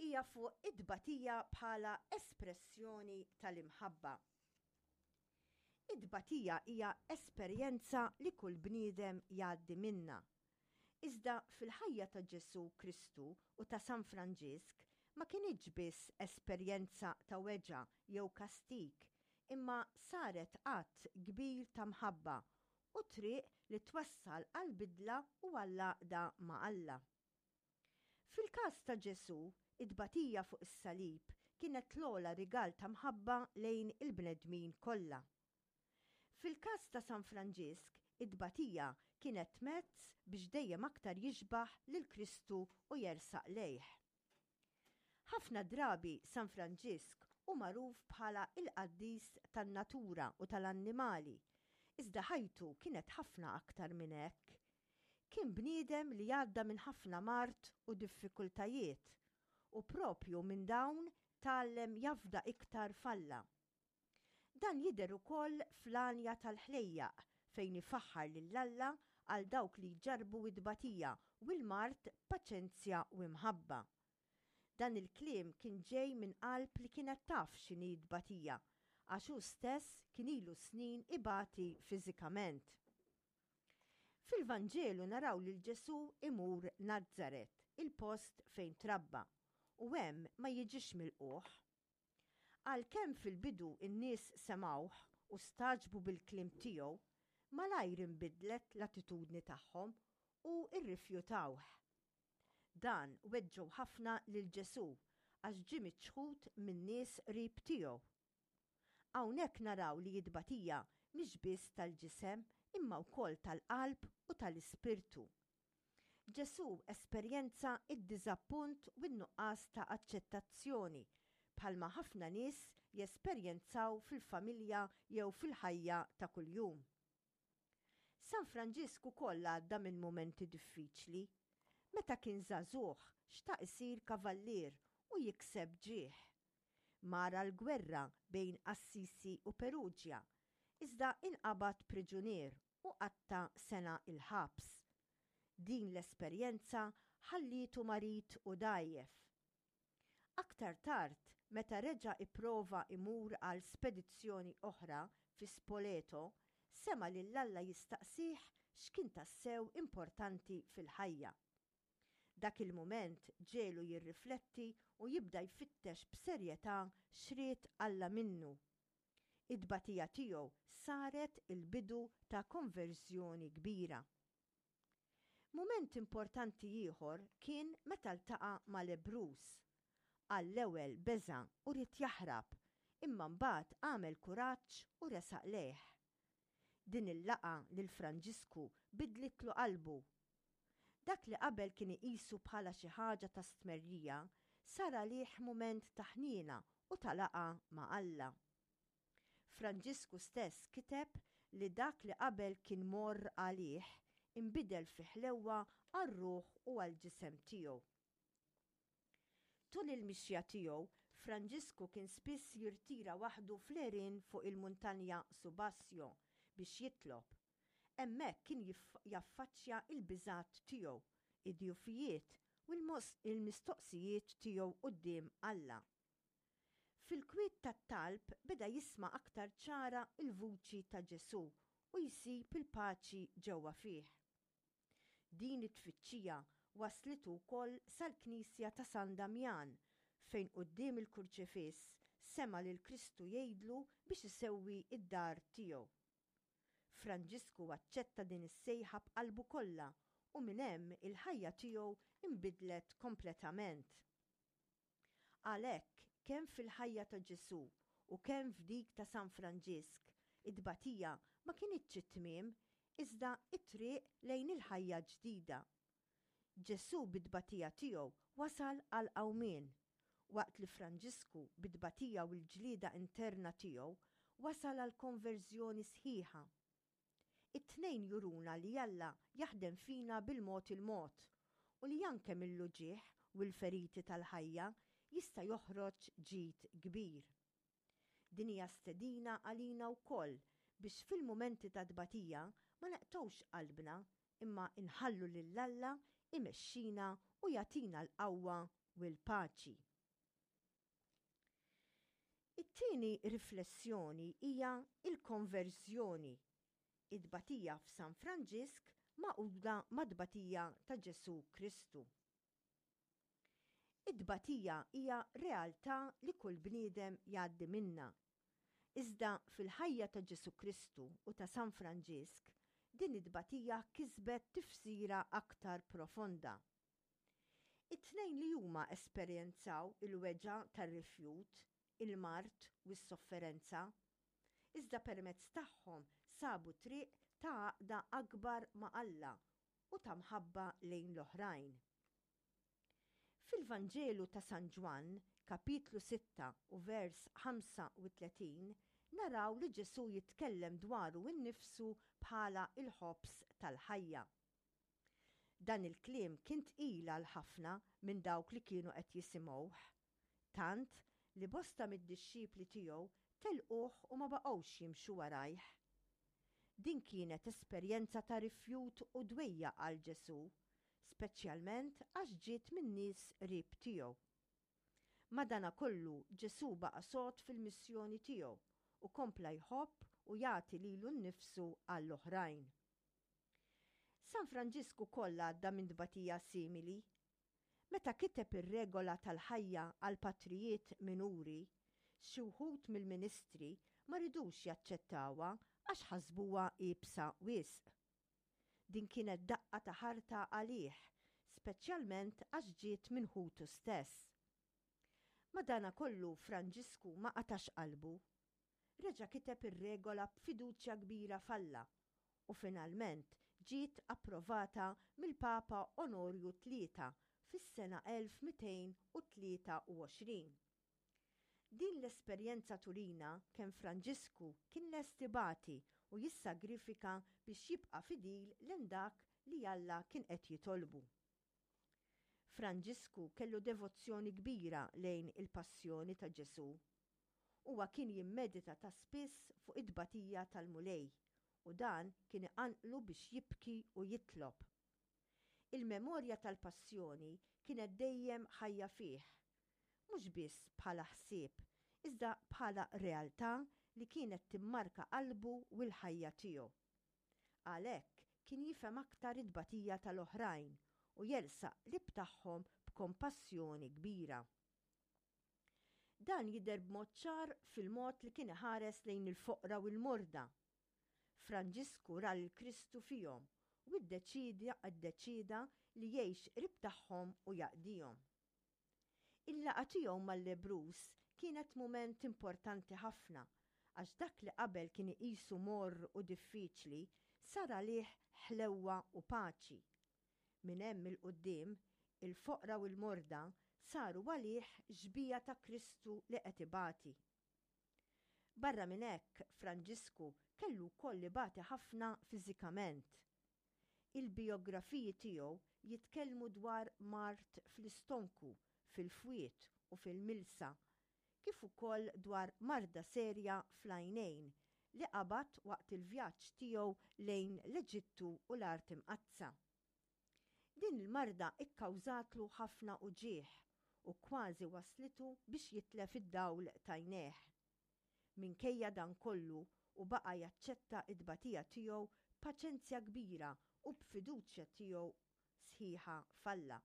hija fuq it-tbatija bħala espressjoni tal-imħabba. It-tbatija hija esperjenza li kull bniedem jgħaddi minnha. Iżda fil-ħajja ta' Ġesù Kristu u ta' San Franġisk ma kinitx biss esperjenza ta' weġgħa jew kastig, imma saret att kbir ta' mħabba u triq li twassal għall-bidla u għall-għaqda ma' Alla. Fil-każ ta' Ġesù, it-tbatija fuq is-salib kienet l-ogħla rigal ta' mħabba lejn il-bnedmin kollha. Fil-każ ta' San Franġisk, it-tbatija kienet mezz biex dejjem aktar jixbah lil Kristu u jersaq lejh. Ħafna drabi San Franġisk hu magħruf bħala l-qaddis tan-natura u tal-annimali, iżda ħajtu kienet ħafna aktar minn hekk. Kien bniedem li għadda minn ħafna mard u diffikultajiet, u proprju minn dawn tgħallem jafda iktar f'Alla. Dan jidher ukoll fl-Għanja tal-Ħlejjaq fejn ifaħħar lil Alla għal dawk li jġarrbu t-tbatija u l-mard b'paċenzja u imħabba. Dan il-kliem kien ġej minn qalb li kienet taf x'inhi t-tbatija għax hu stess kien ilu snin ibati fiżikament. Fil-Vanġelu naraw lil Ġesù imur Nazaret, il-post fejn trabba, u hemm ma jiġix milqugħ. Għalkemm fil-bidu n-nies semgħuh u stagħġbu bil-kliem tiegħu, malajr inbidlet l-attitudni tagħhom u rrifjutawh. Dan weġġgħu ħafna lil Ġesù għax ġie miċħud min-nies qrib tiegħu. Hawnhekk naraw li t-tbatija mhix biss tal-ġisem imma wkoll tal-qalb u tal-ispirtu. Ġesù esperjenza d-diżappunt u n-nuqqas ta' aċċettazzjoni bħalma ħafna nies jesperjenzaw fil-familja jew fil-ħajja ta' kuljum. San Franġisk ukoll għadda minn mumenti diffiċli. Meta kien żagħżugħ xtaq isir kavallier u jikseb ġieħ. Mar għall-gwerra bejn Assisi u Perugia, iżda inqabad priġunier u qatta' sena l-ħabs. Din l-esperjenza ħallietu marid u dgħajjef. Aktar tard, meta reġa' ipprova imur għal spedizzjoni oħra fi Spoleto, sema' lil Alla jistaqsih x'kien tassew importanti fil-ħajja. Dak il-mument ġegħlu jirrifletti u jibda jfittex b'serjetà x'ried Alla minnu. It-tbatija tiegħu saret il-bidu ta' konverżjoni kbira. Mument importanti ieħor kien meta ltaqa' ma' lebbruż. Għall-ewwel beża' u ried jaħrab, imma mbagħad għamel kuraġġ u resaq lejh. Din il-laqgħa lil Franġisku bidlitlu qalbu. Dak li qabel kien iqisu bħala xi ħaġa ta' stmerrija sar għalih mument ta' ħniena u ta' laqgħa ma' Alla. Franġisku stess kiteb li dak li qabel kien morr għalih inbidel fi ħlewwa għar-ruħ u għall-ġisem tiegħu. Tul il-mixja tiegħu, Franġisku kien spiss jirtira waħdu fl-għerien fuq il-muntanja Subasio biex jitlob. Hemmhekk kien jaffaċċja l-biżgħat tiegħu, id-djufijiet u l-mistoqsijiet tiegħu quddiem Alla. Fil-kwiet tat-talb beda jisma' aktar ċara l-vuċi ta' Ġesù u jsib il-paċi ġewwa fih. Din it-tfittxija wasslitu wkoll sal-knisja ta' San Damjan fejn quddiem il-kurċifiss sema' lil Kristu jgħidlu biex isewwi d-dar tiegħu. Franġisku aċċetta din is-sejħa b'qalbu kollha u minn hemm il-ħajja tiegħu nbidlet kompletament. Għalhekk, kemm fil-ħajja ta' Ġesù u kemm f'dik ta' San Franġisk, it-tbatija ma kinitx it-tmiem, iżda t-triq lejn il-ħajja ġdida. Ġesù bit-tbatija tiegħu wasal għall-qawmien, waqt li Franġisku bit-tbatija u l-ġlieda interna tiegħu wasal għall-konverżjoni sħiħa. It-tnejn juruna li Alla jaħdem fina bil-mod il-mod u li anke mill-uġigħ u l-feriti tal-ħajja jista' joħroġ ġid kbir. Din hija stedina għalina wkoll biex fil-mumenti ta' tbatija ma neqtgħux qalbna imma nħallu lil Alla imexxina u jagħtina l-qawwa u l-paċi. It-tieni riflessjoni hija l-konverżjoni, it-tbatija f'San Franġisk magħquda mat-tbatija ta' Ġesù Kristu. It-tbatija hija realtà li kull bniedem jgħaddi minnha. Iżda fil-ħajja ta' Ġesù Kristu u ta' San Franġisk, din it-tbatija kisbet tifsira aktar profonda. It-tnejn li huma esperjenzaw il-weġgħa tar-rifjut, il-mard u s-sofferenza, iżda permezz tagħhom sabu triq ta' għaqda akbar ma' Alla u ta' mħabba lejn l-oħrajn. Fil-Vanġelu ta' San Ġwann, kapitlu 6 u vers 35, naraw li Ġesù jitkellem dwaru nnifsu bħala l-ħobż tal-ħajja. Dan il-kliem kien tqil għal ħafna minn dawk li kienu qed jisimgħuh, tant li bosta mid-dixxipli tiegħu telquh u ma baqgħux jimxu warajh. Din kienet esperjenza ta' rifjut u dwejjaq għal Ġesù, speċjalment għax ġiet minn nies qrib tiegħu. Madanakollu, Ġesù baqa' sod fil-missjoni tiegħu u kompla jħobb u jagħti lilu nnifsu għall-oħrajn. San Franġisk ukoll għadda minn tbatija simili. Meta kiteb ir-regola tal-ħajja għall-patrijiet minuri, xi wħud mill-ministri ma ridux jaċċettawha għax ħasbuha iebsa wisq. Din kienet daqqa ta' ħarta għalih, speċjalment għax ġiet minn ħutu stess. Madanakollu Franġisku ma qatax qalbu. Reġa' kiteb ir-regola b'fiduċja kbira f'Alla u finalment ġiet approvata mill-Papa Onorju Tlieta fis-sena 1223. Din l-esperjenza turina kemm Franġisku kien lest ibati u jissagrifika biex jibqa' fidil lejn dak li Alla kien qed jitolbu. Franġisku kellu devozzjoni kbira lejn il-Passjoni ta' Ġesù. Huwa kien jimmedita ta' spiss fuq it-tbatija tal-Mulej u dan kien iqanqlu biex jibki u jitlob. Il-memorja tal-Passjoni kienet dejjem ħajja fih, mhux biss bħala ħsieb, iżda bħala realtà li kienet timmarka qalbu u l-ħajja tiegħu. Għalhekk kien jifhem aktar it-tbatija tal-oħrajn u jersaq qrib tagħhom b'kompassjoni kbira. Dan jidher b'mod ċar fil-mod li kien iħares lejn il-foqra u l-morda. Franġisku ra lil Kristu fihom u ddeċieda li jgħix qrib tagħhom u jaqdihom. Il-laqgħa tiegħu mal-lebbruż kienet mument importanti ħafna għax dak li qabel kien iqisu morr u diffiċli sar għalih ħlewwa u paċi. Minn hemm 'il quddiem, il-foqra u l-morda saru għalih xbieha ta' Kristu li qed ibati. Barra minn hekk, Franġisku kellu wkoll ibati ħafna fiżikament. Il-bijografiji tiegħu jitkellmu dwar mard fl-istonku, fil-fwied u fil-milsa, kif ukoll dwar marda serja fl-għajnejn li qabad waqt il-vjaġġ tiegħu lejn l-Eġittu u l-Art Imqaddsa. Din il-marda kkawżatlu ħafna uġigħ u kważi wasslitu biex jitlef id-dawl t'għajnejh. Minkejja dan kollu hu baqa' jaċċetta t-tbatija tiegħu b'paċenzja kbira u b'fiduċja tiegħu sħiħa f'Alla.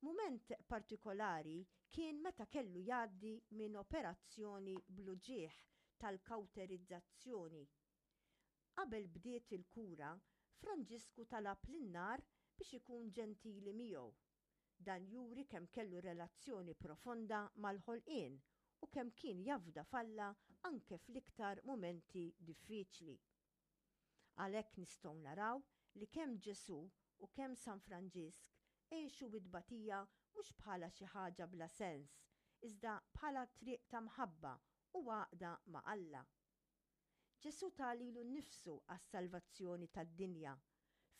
Mument partikolari kien meta kellu jgħaddi minn operazzjoni bl-uġigħ tal-kawterizzazzjoni. Qabel bdiet il-kura, Franġisku talab lin-nar biex ikun ġentili miegħu. Dan juri kemm kellu relazzjoni profonda mal-ħolqien u kemm kien jafda f'Alla anke fl-iktar mumenti diffiċli. Għalhekk nistgħu naraw li kemm Ġesù u kemm San Franġisk għexu it-tbatija mhux bħala xi ħaġa bla sens, iżda bħala triq ta' mħabba u għaqda ma' Alla. Ġesù ta lilu nnifsu għas-salvazzjoni tad-dinja,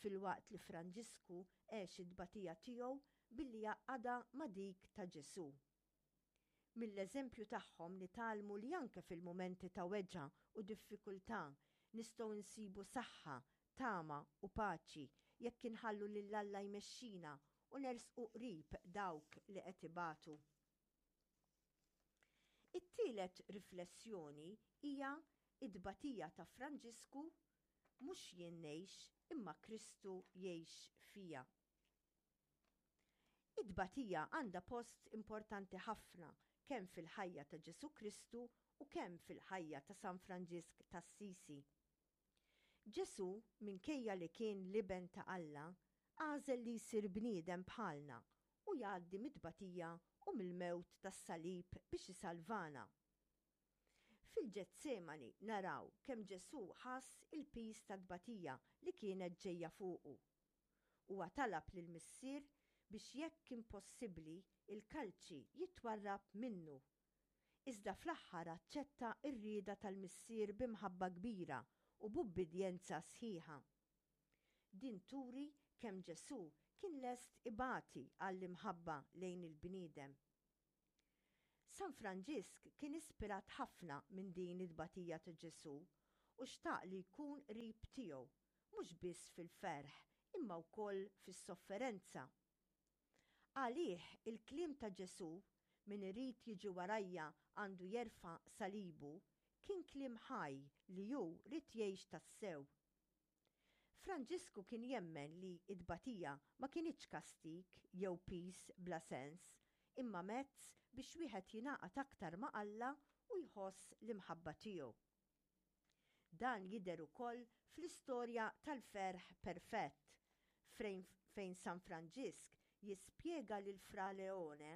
filwaqt li Franġisku għex it-tbatija tiegħu billi għaqqadha ma' dik ta' Ġesù. Mill-eżempju tagħhom nitgħallmu li anke fil-mumenti ta' weġgħa u diffikultà nistgħu nsibu saħħa, tama u paċi jekk inħallu lil Alla jmexxina u nersqu qrib dawk li qed ibatu. It-tielet riflessjoni hija t-tbatija ta' Franġisku, Mhux jien ngħix, imma Kristu jgħix fija. It-tbatija għandha post importanti ħafna kemm fil-ħajja ta' Ġesù Kristu u kemm fil-ħajja ta' San Franġisk t'Assisi. Ġesù, minkejja li kien l-Iben ta' Alla, għażel li jsir bniedem bħalna u jgħaddi mit-tbatija u mill-mewt tas-salib biex isalvana. Fil-Ġetsemani naraw kemm Ġesù ħass il-piż tat-tbatija li kienet ġejja fuqu. Huwa talab lill-Missier biex jekk kien possibbli l-kalċi jitwarrab minnu. Iżda fl-aħħar aċċetta r-rieda tal-Missier bi mħabba kbira u b'ubbidjenza sħiħa. Din turi kemm Ġesù kien lest ibati għall-imħabba lejn il-bniedem. San Franġisk kien ispirat ħafna minn din it-tbatija ta' Ġesù u xtaq li jkun qrib tiegħu, mhux biss fil-ferħ imma wkoll fis-sofferenza. Għalih il-kliem ta' Ġesù, Min irid jiġi warajja għandu jerfa' salibu, kien kliem ħaj li hu ried jgħix tassew. Franġisku kien jemmen li t-tbatija ma kinitx kastig jew piż bla sens, imma mezz biex wieħed jingħaqad aktar ma' Alla u jħoss l-imħabba tiegħu. Dan jidher ukoll fl-istorja tal-ferħ perfett, fejn San Franġisk jispjega lil Fra Leone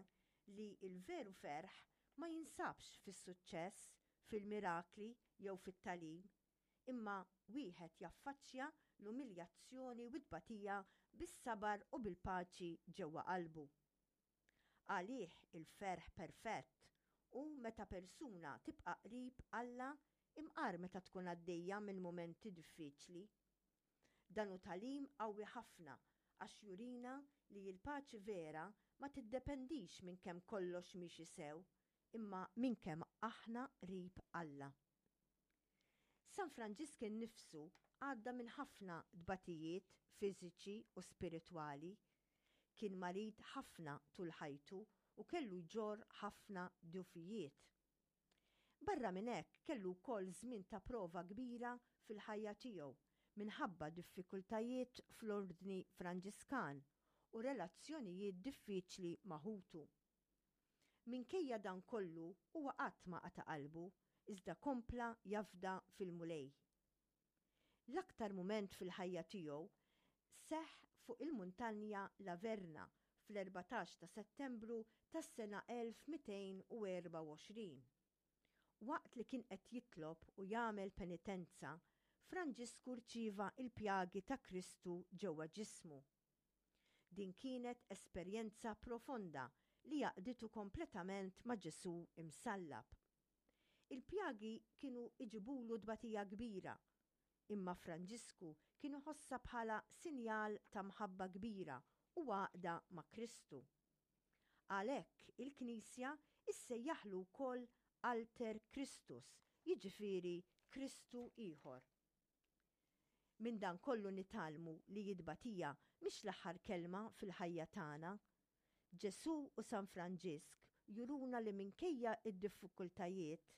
li l-veru ferħ ma jinsabx fis-suċċess, fil-mirakli jew fit-tagħlim, imma wieħed jaffaċċja l-umiljazzjoni u t-tbatija bis-sabar u bil-paċi ġewwa qalbu. Għalih il-ferħ perfett hu meta persuna tibqa' qrib Alla imqar meta tkun għaddejja minn mumenti diffiċli. Dan hu tagħlim qawwi ħafna għax jurina li l-paċi vera ma tiddependix minn kemm kollox miexi sew imma minn kemm aħna qrib Alla. San Franġisk innifsu għadda minn ħafna tbatijiet fiżiċi u spiritwali. Kien marid ħafna tul ħajtu u kellu jġorr ħafna dgħufijiet. Barra minn hekk kellu wkoll żmien ta' prova kbira fil-ħajja tiegħu minħabba diffikultajiet fl-Ordni Franġiskan u relazzjonijiet diffiċli ma' ħutu. Minkejja dan kollu huwa qatt ma qata' qalbu iżda kompla jafda fil-Mulej. L-aktar mument fil-ħajja tiegħu seħħ fuq il-muntanja La Verna fl-14 ta' Settembru tas-sena 1224. Waqt li kien qed jitlob u jagħmel penitenza, Franġisku rċieva l-pjagi ta' Kristu ġewwa ġismu. Din kienet esperjenza profonda li għaqqditu kompletament ma' Ġesù msallab. Il-pjagi kienu jġibulu tbatija kbira, imma Franġisku kien iħossha bħala sinjal ta' mħabba kbira u għaqda ma' Kristu. Għalhekk il-Knisja issejjaħlu wkoll Alter Christus, jiġifieri Kristu ieħor. Minn dan kollu nitgħallmu li t-tbatija mhix l-aħħar kelma fil-ħajja tagħna. Ġesù u San Franġisk juruna li minkejja d-diffikultajiet,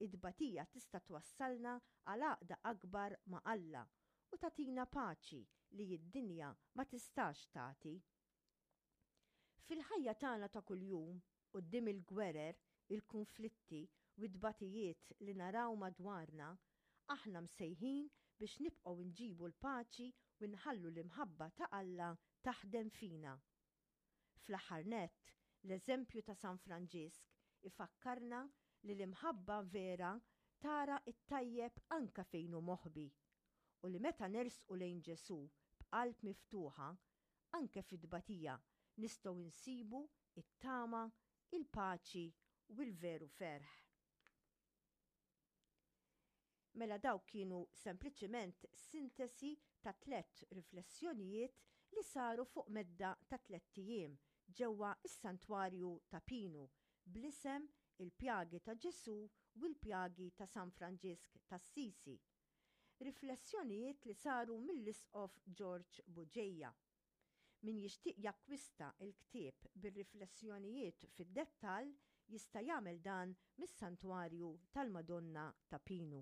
it-tbatija tista' twassalna għal għaqda akbar ma' Alla u tagħtina paċi li d-dinja ma tistax tagħti. Fil-ħajja tagħna ta' kuljum, quddiem il-gwerer, il-kunflitti u t-tbatijiet li naraw madwarna, aħna msejħin biex nibqgħu nġibu l-paċi u nħallu l-imħabba ta' Alla taħdem fina. Fl-aħħar nett, l-eżempju ta' San Franġisk ifakkarna li l-imħabba vera tara t-tajjeb anke fejn hu moħbi u li meta nersqu lejn Ġesù b'qalb miftuħa, Anke fit-tbatija nistgħu nsibu t-tama, il-paċi u l-veru ferħ. Mela dawk kienu sempliċiment sintesi ta' tlett riflessjonijiet li saru fuq medda ta' tlett ijiem ġewwa s-Santwarju ta' Pinu bl-isem Il-Pjagi ta' Ġesù u l-Pjagi ta' San Franġisk t'Assisi. Riflessjonijiet li saru mill-Isqof George Bugeja. Min jixtieq jakkwista l-ktieb bir-riflessjonijiet fid-dettall jista' jagħmel dan mis-Santwarju tal-Madonna ta' Pinu.